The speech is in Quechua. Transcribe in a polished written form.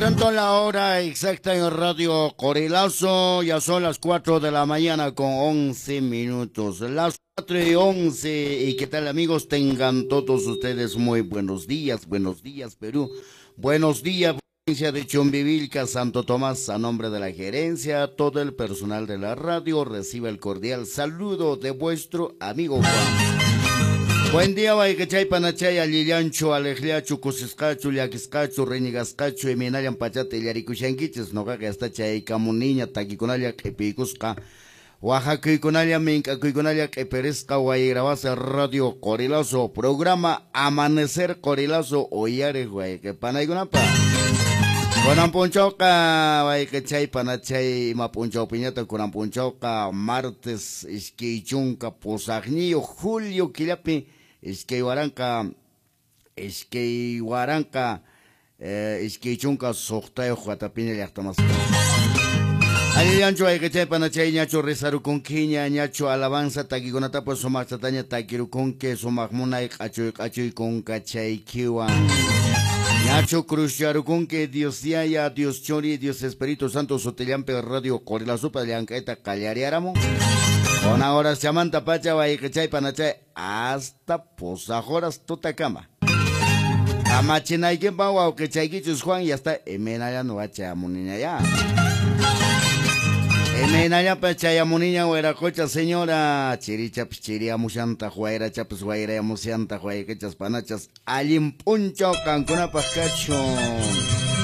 Atento a la hora exacta en Radio Qorilazo, ya son las 4 de la mañana con 11 minutos. Las 4:11, y qué tal, amigos, tengan todos ustedes muy buenos días, Perú. Buenos días, provincia de Chumbivilca, Santo Tomás. A nombre de la gerencia, todo el personal de la radio recibe el cordial saludo de vuestro amigo Juan. Buen día, wayqichay, panachay, allillanchu, aleqllachu, kusisqachu, llakisqachu, reñigasqachu, imaynallan pachata illarikushankichis, noqaqa hasta chaykamuniña takikunalla q'ipiykusqa, waqakuykunalla, mink'akuykunalla q'ipirisqa, wayrawasa Radio Qorilazo, programa Amanecer Qorilazo, uyariq wayqi panaykunapa. Kunan p'unchawqa wayqichay, panachay, ima p'unchawpiñata kunan p'unchawqa martes 28 julio killapi 2026 watapiña llaqtamasqa. Allillanchu wayqichay, panachay, ñachu rizarukunkiña, ñachu alabanza takikunatapas sumaqchataña takirukunki, sumaq munay q'achuy q'achuy kunkachaykiwan. Ñachu cruzcharukunki Dios Yaya, Dios Churi, Dios Espíritu Santo sutillampi Radio Qorilazopa llank'ayta qallariaramun. Kuna horas chamanta pacha wayqichay, panachay, hasta pusaq horas tutakama. Kamachinaykipa wawqichaykichus Juan, ya está imaynalla nuqa chayamuniña ya. Imaynallapa chayamuniña wiraqocha señora, chirichapas chiriyamushantaq, wayrachapas wayrayamushantaq, wayqichas panachas, allin p'unchaw qankunapaq kachun.